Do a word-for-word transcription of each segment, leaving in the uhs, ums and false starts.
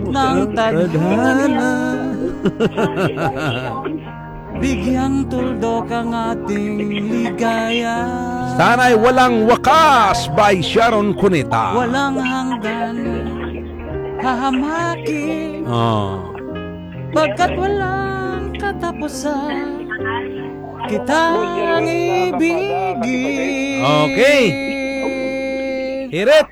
ng tadhana. Bigyang tuldok ang ating ligaya. Sana'y Walang Wakas by Sharon Cuneta. Walang hanggan, hahamaki. Oh. Pagkat walang katapusan, kitang ibigin. Okay. Hirit.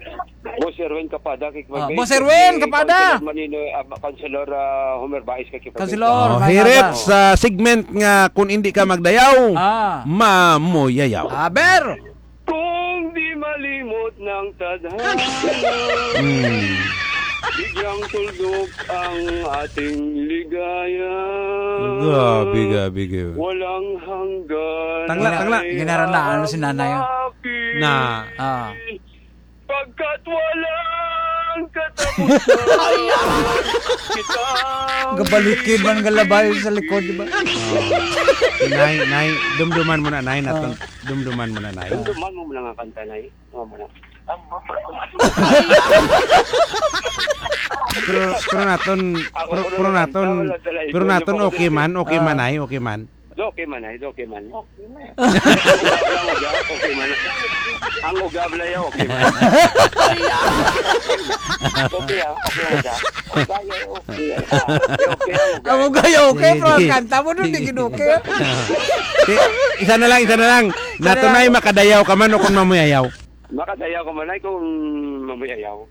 Boss Erwin Kapada, kay Ah, Boss Erwin Kapada. Councilor Manino, ah, Councilor, ah, Homer Baez, kay Councilor. Oh, Baez. Hirit sa segment nga kung hindi ka magdayaw, Ah. mamuyayaw. Aber! Kung di malimot ng tadhana, Hmm. bigyang tuldok ang ating ligaya. Grabe, grabe, grabe. Walang hanggan. Tangla, tangla. Gina-, ginaranahan mo si nanay, oh. Hahamaki. Na. Ah. Pagkat walang katapusan. Kita. Gabalikin man nga labay sa likod, di ba? Nay, nay, dumduman mo na, nay, naton. Ah. Dumduman mo na, nay. Dumduman mo na nga kanta, nay. Nga mo na. Pero, pero naton, Ako pero, ko pero na naton, kanta, wala talaga pero ikaw, naton, yung okay man, okay man, Ah. ay, okay man. Do, okay man, ay, do, okay man. Okay man. Ang uga, okay man. Ang uga, Blaya, okay man. Okay, ah, okay, uga. Okay, okay, ah. Okay, okay, ang uga. Ang uga, okay, Sige, pero ang sige. kanta mo dun, di Sige. gid okay. Di, isa na lang, isa na lang. Isa na Nato lang. na yung makadayaw ka man o kung mamuyayaw. Makadayaw ka man ay kung mamuyayaw.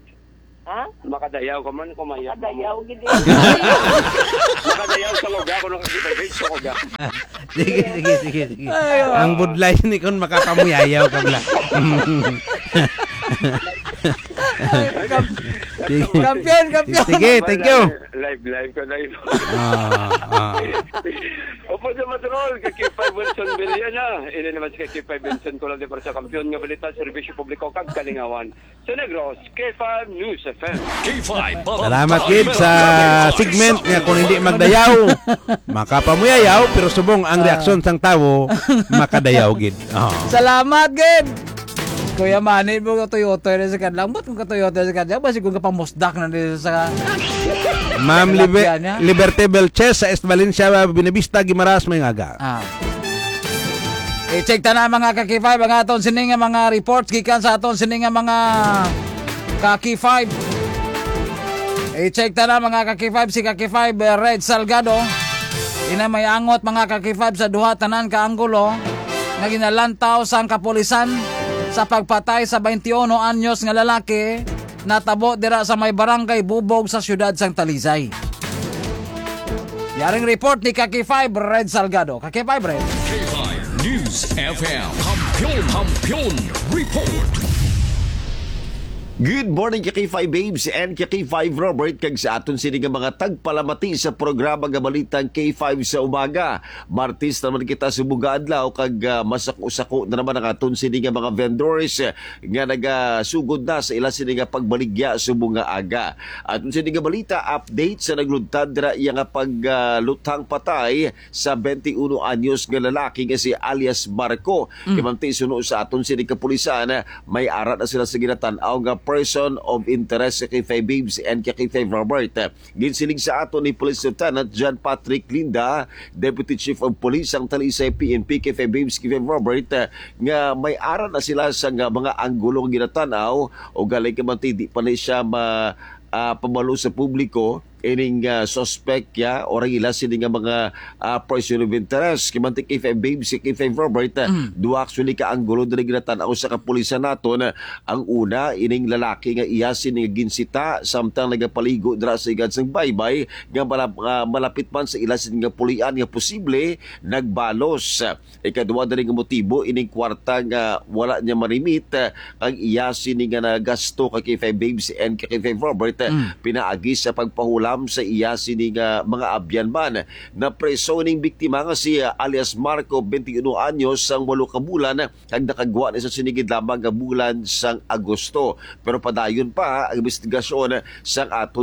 Ha? Makadayaw ka man, kumayaw ka man. Makadayaw, gid. Makadayaw sa lugar, kung nakakita, guys, sa lugar. Sige, sige, sige, sige. Ay, oh. Ang budlay ni kon makapamuyayaw ka bala. Ay, kam-, Sige. kampiyon, kampiyon. Sige, thank you. Live, live ka, live. Ah, ah. Opo, sa Matrol, kay K five Wilson Villana. Ini naman si kay K five Wilson, kulang di para sa kampiyon nga balita, serbisyo publiko, kag kalingawan. Sa Negros, K five News F M. K five, Salamat, Gid, sa segment nga kung hindi magdayaw, makapamuyayaw, pero subong ang Ah. reaksyon sang tawo, makadayaw, Gid. Oh. Salamat, Gid. Kuya Manny, mo katuyotoy na sa kadlang. Ba't kung katuyotoy sa kadlang? Basi kung kapamusdak na din sa Ma'am Libe-, tilapia niya. Liberty Belches sa East Valencia, Buenavista, Guimaras, may ngaga. Ah. I-check ta na, mga ka-K five, ang aton sini nga mga reports gikan sa aton sini nga mga ka-K five. I-check ta na, mga ka-K five, si ka-K five, eh, Red Salgado. Ina may angot, mga ka-K five, sa duha tanan ka anggulo nga ginalantaw sang kapulisan sa pagpatay sa twenty-one anyos nga lalaki natabo dira sa may barangay Bubog sa siyudad sang Talisay. Yaring report ni ka-K five Red Salgado. Ka-K five Red. K five News F M. Kampiyon, Kampiyon Report. Good morning, ka-K five Babes and ka-K five Robert, kag sa aton sini nga mga tagpalamati sa programa nga Balitang K five sa Umaga. Martes naman kita subong nga adlaw, kag, ah, masako-sako na naman ang aton sini nga mga vendors, eh, nga nagasugod na sa ila sini nga pagbaligya subong nga aga. Aton sini nga balita, update sa naglugtad dira iya nga pag, ah, luthang patay sa twenty-one anyos nga lalaki nga si alias Marco. Mm. Kay manti suno sa aton sini kapulisan, may ara na sila sa ginatan-aw nga person of interest, ka-K five Babes and ka-K five Robert. Ginsiling sa aton ni Police Lieutenant John Patrick Linda, Deputy Chief of Police sang Talisay P N P, ka-K five Babes, ka-K five Robert, eh, nga may ara na sila sa nga mga anggulo nga ginatan-aw, o gali ka man ti, di pa ni siya ma-, ah, pabalo sa publiko ining, ah, suspect ya, o ang ila sini nga mga, ah, person of interest. Kay man ti, ka-K five Babes, ka-K five Robert, eh, Mm. duha actually ka anggulo diri ginatan-aw sa kapulisan naton. Ang una, ining lalaki nga iya sini nga ginsita samtang nagapaligo dira sa higad sang baybay nga malap-, ah, malapit man sa ila sini nga pulian nga posible nagbalos. Ikadua diri nga motibo, ining kwarta nga wala niya marimit, ah, ang iya sini nga nagasto, ka-K five Babes and ka-K five Robert, ah, Mm. pinaagi sa pagpahulam sa iya sini nga mga abyan man. Napreso ining biktima nga si, ah, alias Marco, twenty-one anyos, sang walo ka bulan, kag nakagwa ni sa sini gid lamang nga bulan sang Agosto. Pero padayon pa ang investigasyon sang aton